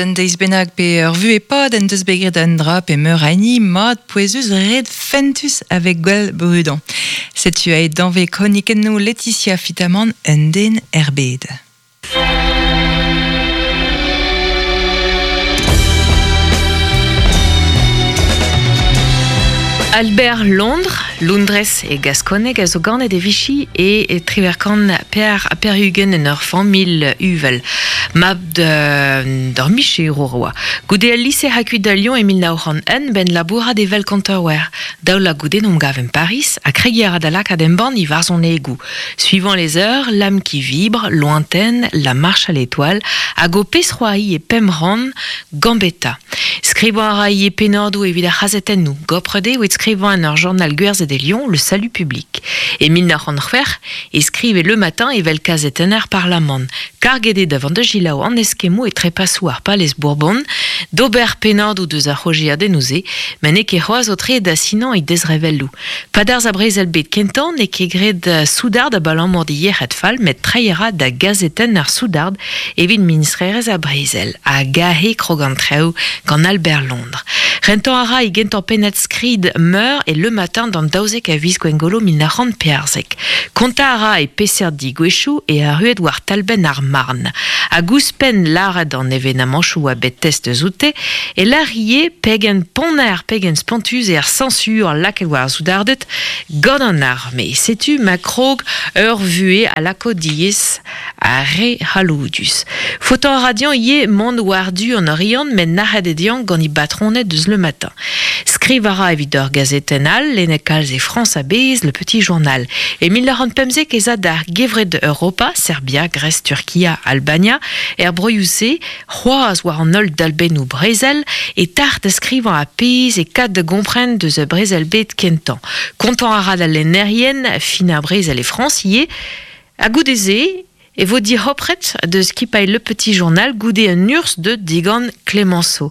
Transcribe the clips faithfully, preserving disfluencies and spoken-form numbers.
Un deiz bennak pe ur vu e pad en deus bet graet un dra pe meur a hini mat pouezus red fentus avec gwell brudan. Setu aet danve kronikennoù Laetitia Fitamant un den er bed. Albert Londres, Londres e Gasconeg a zo ganet e Vichy e, e triverkan per per-ugent en ur familh uvel. Mab de d'ur micherour oa. Goude al lycée hakuit da Lyon e mil nav c'hant un ben labourat evel kontaouer. Daou la goude n'om gav en Paris a kregi a ra da lakaat embann i war son egou. Suivant les heures, l'âme qui vibre, lointaine, la marche à l'étoile, hag o pez c'hoari e pemran, Gambetta. Skrivañ a ra e pennadoù evit ar c'hazetennoù, goprede evit skrivañ en ur journal gwerzhet e Lyon, le Salut Public. E mil nav c'hant c'hwec'h e skrive Le Matin evel kazetenner Parlamant. Karget eo da vont da gilaou an eskemmoù e trepasoù ar palez Bourbon, d'ober pennadoù deus ar c'hojiadennoù-se, met n'eo ket c'hoazh o tre da sinañ e dezrevelloù. Padarz a brezel bet kentañ n'eo ket graet soudard abalamour di yec'hed fall, met treiñ a ra da gazetenn ar soudard evit ministrerezh a brezel, ha gahe krog an traoù gant Albert Londres. Rentañ a ra e gentañ pennad skrid meur e Le Matin d'an daouzek a viz Gwengolo mil nav c'hant pevarzek. Kontañ a ra e peseurt digouezhioù e arruet war talbenn ar Marne. Hag ouzhpenn lâret an evenamanchoù a bet test eus oute, e lârie pegen ponner, pegen spontus e ar sañsur lakaet war ar soudarded gant an arme. Setu ma krog ur vuhez a lako diaes ar re c'halloudus. Faotañ a ra dezhañ ivez mont war-du an Oriant met nac'het eo dezhañ gant e batroned deus Le Matin. Skriv a ra evit ur gazetenn all, lennet kalz e Frañs a-bezh, Le Petit Journal. E mil nav c'hant pemzek ez a d'ar gevred Europa, Serbia, Grèce, Turkia, Albania, er broioù-se, c'hoazh war an holl dalbennoù brezel, e tac'h da skrivañ a pezh e kad da gompren deus a brezel bet kentañ. Kontañ a ra da lennerien, fin ar brezel e Frañs ivez, ha goude-se, e vo dic'hopret deus skipailh Le Petit Journal goude un urzh de digant Clemenceau.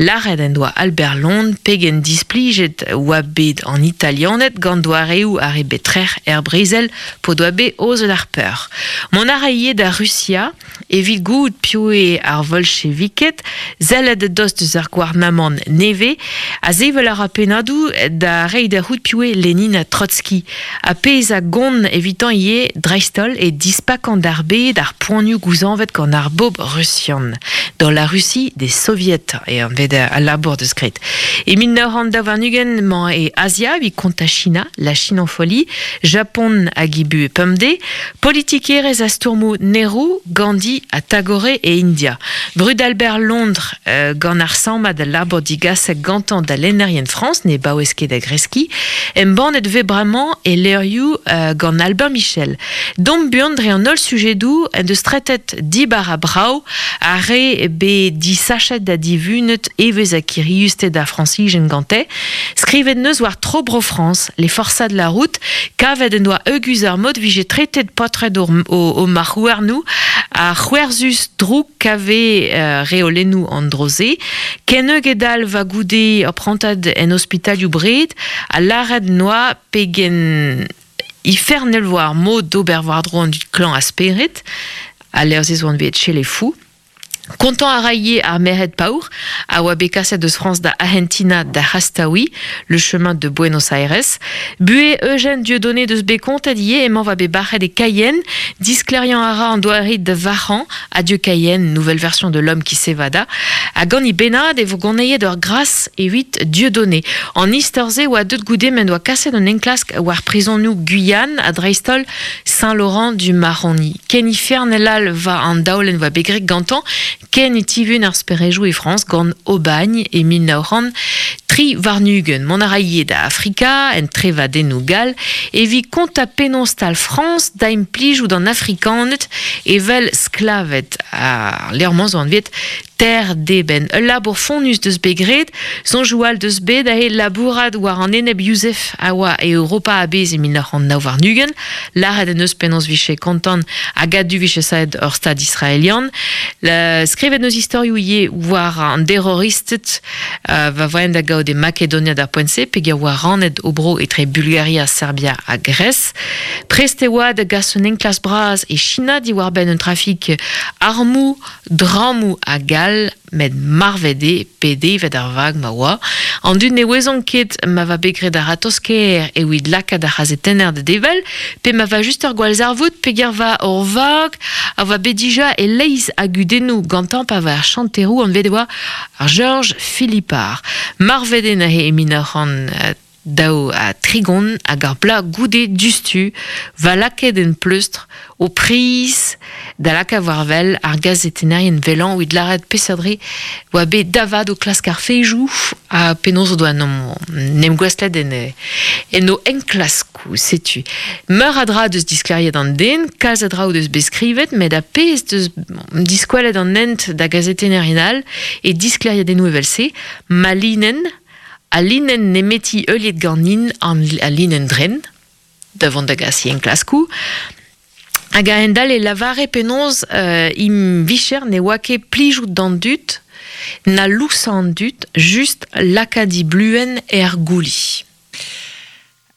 Lâret en doa Albert Londres pegen displijet oa bet an italianed gant doareoù ar re bet trec'h er brezel p'o doa bet aozet ar peur. Mont a ra ivez da Rusia evit goût piv eo ar volcheviked, sellet dost eus ar gouarnamant nevez, a sevel a ra pennadoù da reiñ da c'hoût piv eo Lenin ha Trotsky. Ha pezh a gont evitañ ivez dreist-holl e dispakañ d'ar bed ar poanioù gouzañvet gant ar bobl rusian. Dans la Russie des soviets e an vet al labour deus graet. E mil nav c'hant daou warn-ugent emañ e Asia evit kontañ China, la Chine en folie, Japon hag ibu e pemdez, politikerezh a stourmoù Nehru, Gandhi ha Tagore e India. Brud Albert Londres euh, gant ar sammad al labour digaset gantañ da lennerien Frañs ne baouez ket da greskiñ, embannet vez bremañ e levrioù euh, gant Albin Michel. Dom buan dre an holl sujedoù en deus tretet dibar ha brav ar re bet disachet da divunet evezh ha kiriusted ar Frañsijen gante, skrivet neus war tro bro Frañs, les forçats de la route, kavet en doa euguz ar mod vije tretet potred o, o, o marc'houarnoù, ar c'hwerzus drouk kave euh, reolennoù an droze, ken eugedal va goude ur prantad en ospitalioù bred, ha lâret noa pegen ifernel war mod d'ober war-dro an dud klañv a spered, a lerzh ez oant bet chez les fous. Kontañ a ra ivez ar merc'hed paour a oa bet kaset eus Frañs da Argentina da C'hastaouiñ, le chemin de Buenos Aires. Buhez Eugène Dieudonné deus bet kontet ivez emañ va bet bac'het e Cayenne, disklêriañ a ra an doare da varc'hañ, Adieu Cayenne, nouvelle version de l'homme qui s'évada, ha gant e bennad e vo goneiet ur gras evit Dieudonné. An istor-se oa deut goude m'en doa kaset un enklask war prizonioù Guyane ha dreist-holl Saint-Laurent du Maroni. Ken ifernel all va an daolenn va bet graet gantañ, ken e tivun ar sperejoù e Frañs gant Aubagne e mil nav c'hant tri warn-ugent. Mont a ra ivez da Afrika, en trevadennoù gall, evit kontañ penaos tal Frañs da implijout an Afrikaned evel sklaved. Ar levr-mañ zo anvet Terre d'Eben. Ul labour fonnus deus bet graet, soñjoù all deus bet aze labourat war an eneb Youssef a oa e Europa a-bezh e mil nav c'hant nav warn-ugent, lâret en deus penaos vije kontant hag a-du vije savet ur stad israelian. La, skrivet neus istorioù ivez war an terroristed euh, va voen da gaout e Makedonia d'ar poent-se, peogwir oa rannet o bro etre Bulgaria, Serbia ha Grèce. Prest e oa da gas un enklask bras e China diwar-benn un trafik armoù, drammoù hag all. all, met marvet eo pe devet ar vag ma oa. An dud ne ouezont ket ma va bet graet ar ratosker evit lakaat ar c'hazetenner da devel, pe ma va just ur gwallzarvoud pe ger va ur vag a va bet dija e leiz a gudennoù gantañ pa va ar chanteroù anvet e oa ar Georges Philippard. Marvet eo neuze e mil nav c'hant daou ha tregont hag ar bloaz goude dustu va lakaet en pleustr o priz da lakaat war wel ar gazetennerien velan evit lâret peseurt dre oa bet davad o klask ar fejoù ha penaos o doa n'em gouestlet en, en o enklaskoù, setu. Meur a dra deus diskleriet an den, kalz a dra o deus bet skrivet, met a pezh deus diskwelet an hent da gazetennerien all e diskleriet enno evel-se, ma linenn a linenn nemeti heuliet ganin an a linenn dren, da vont da gas enklaskoù, hag a-hend-all e lavare penaos euh, im vicher ne oa ket plijout d'an dud, na lousañ an dud, just lakaat di bluen er gouli.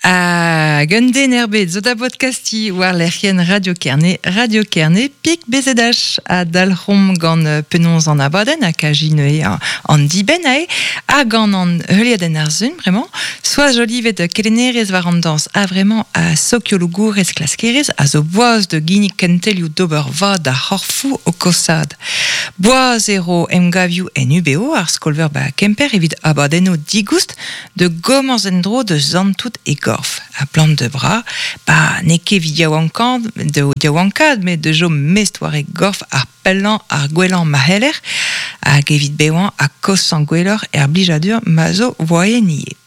Hag un den erbet zo da podcasti war lec'hienn Radio Kerne, Radio Kerne, pik B Z H a dalc'homp gant penaos an abadenn hag a jine an dibenn ae, ha gant an heuliadenn ar sun, vraiment, Soaz Jolivet kelennerez war an dañs a vraiment a sokiologourez klaskerez a zo boaz de ginnig kentelioù d'ober vad da c'horfoù o kosad. Boaz ero emgavioù en U B O ar skolver ba Kemper evit abadennoù digoust de gomañs en-dro de zantout e gorf. A plant de bras, ba n'eo ket evit yaouankaat, de yaouankaat, met de jom mest war e gorf ar pellañ ar gwellañ ma c'heller, hag evit bevañ ha kosañ gwelloc'h er blijadur ma zo voaien ivez.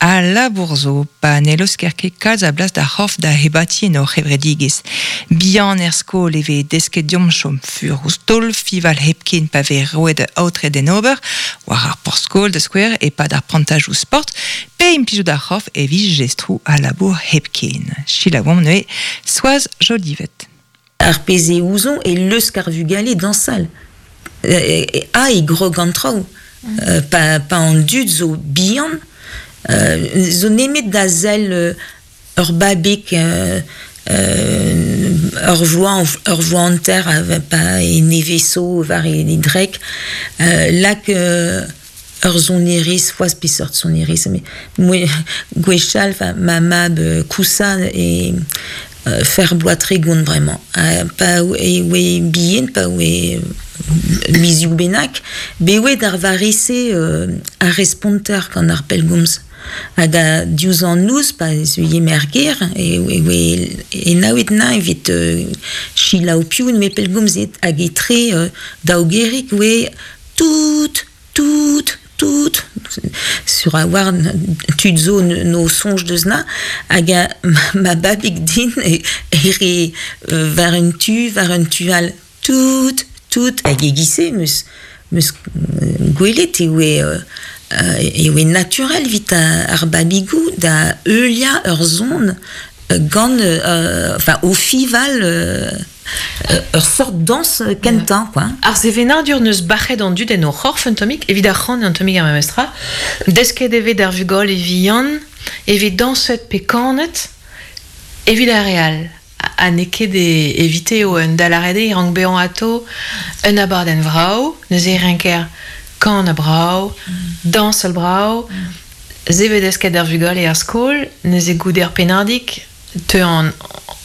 A labour zo, pa ne laosker ket kalz a blas da c'horf da hebati en hor c'hevredigezh. Bihan er skol e vez desket deomp chom fur ouzh taol, fival hepken pa vez roet aotre d'en ober, war ar porzh-skol da skouer e-pad ar prantajoù sport, pe implijout ar c'horf evit jestroù a labour hepken. Selaouomp neuze Soaz Jolivet. Ar pezh e ouzon e leusk ar vugale dañsal. E, a e grog an traoù. Mm. Pa, pa an dud zo bihan, euh, zo nemet da sell euh, ur babig euh, euh, ur vloaz ur vloaz hanter pa e neveso war e drek euh, lak euh, ur sonerez foaz peseurt sonerez mais moi gwechall enfin ma mab kousa e euh, faire bloaz tregont vraiment euh, pa e oe bihan pa oe mizioù bennak be oe d'ar varese euh, ar responter gant ar pellgomz hag a diouzh an noz pa zeuie merger e oe e naouet na evit euh, selaou piv me pellgomzet hag etre euh, daougerik oe tout tout tout sur a war tud zo no soñj deus na hag a ma babig din e ere war un tu war un tu all tout tout hag e gise meus meus gwelet e oe e oe naturel vit ar babigou da heuliañ ur zon gant euh, enfin au fival euh, ur sort danse kentañ quoi. Ar sevenadur neus bac'het an dud en o c'horf un tammig, evit ar c'han un tammig ar memestra, desket e vez d'ar vugale vihan, evit dañset pe kanet, evit ar re all. Ha n'eo ket evite eo un dalarede e rank bezañ atao un abadenn vrav, neuze e renker kan a brav, dañsal brav, se vez desket d'ar vugale er skol, neuze goude ar pennadig, teu an,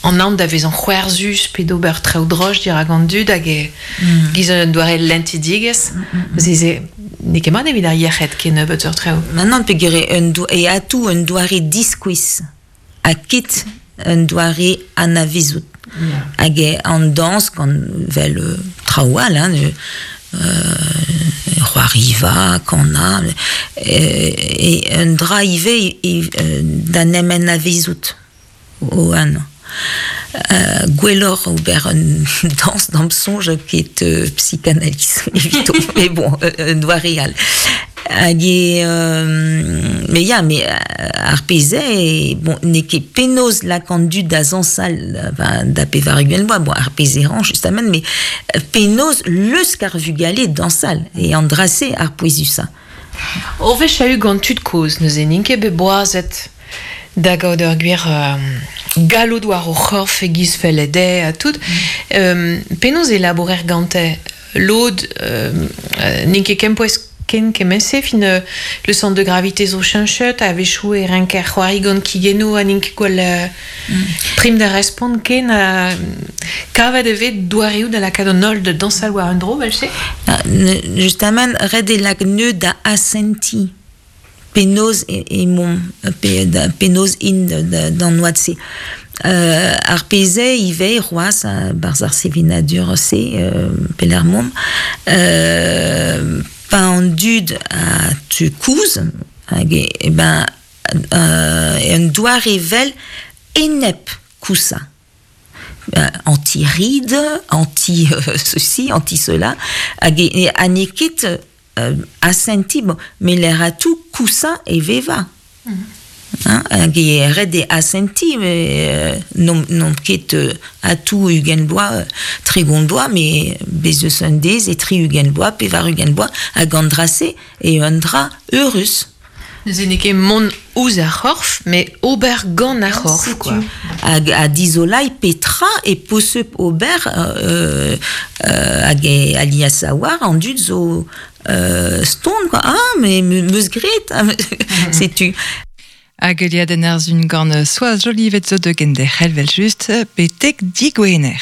an an da vezañ c'hwerzus pe d'ober traoù droch dirak an dud hag e mm. giz un doare lentidigezh. Mm, mm, mm. N'eo ket mat evit ar yec'hed ket nebeut ur traoù. Maintenant pegere un do, e atou un doare diskouez ha ket un doare anavezout. Yeah. Hag e an dañs gant vel euh, traoù all, hein, euh, c'hoariva, kana, e, e un dra ivez e, e, da nem anavezout o an. Euh, gwelloc'h ober un dañs d'am soñj ket euh, psychanalyse evito, mais bon, un doare all. Hag e, euh, mais ya, mais ar pezh eo, bon, n'eo ket penaos lak an dud da zañsal, enfin, da pevar ugent vloaz, bon, ar pezh e ran justement, mais penaos leusk ar vugale dañsal, e an dra-se ar pouezusañ. Ur wech a-u gant tud kozh, neuze n'int ket bet boazet da gaout ur gwir euh, galloud war o c'horf e giz fellet dezhe ha tout. Mm. Euh, penaos e labourer gante Lod euh, n'int ket kempouez ken kement-se, fin euh, le centre de gravité zo cheñchet, a-wechoù e renker c'hoari gant kigennoù ha n'int ket gwall euh, mm. prim da respont ken a kavet e vez doareoù da lakaat an holl da dañsal war un dro, vel-se? Ah, justement, ret eo lak neu da asentiñ penaos e, emaomp, pe, da, penaos int d'an oad-se. Euh, ar pezh ivez c'hoazh barzh ar sevenadur-se euh, pelec'h momp euh, pa an dud a tu kouz hag e, e ben euh, un doare vel enep kousa. Anti-ride, anti euh, ceci, anti cela, hag e, ha n'eo ket euh, asentiñ, bon, met lec'h a tout kousa e veva. Mm -hmm. Hein, hag e ret eo asentiñ, euh, n'omp n'omp ket euh, a tout ugent bloaz, tregont bloaz, met bez eus un dez e tri ugent bloaz, pevar ugent bloaz, hag an dra-se e un dra eurus. Neuze n'eo ket mont ouzh ar c'horf, met ober gant ar c'horf, quoi. Hag a dizolai petra e posupl ober euh, euh, hag e alias a war an dud zo euh, ston, quoi. Ah, mais meus graet, setu. Hag heuliadenn ar sun gant Soaz Jolivet zo de genderc'hel vel just betek digwener.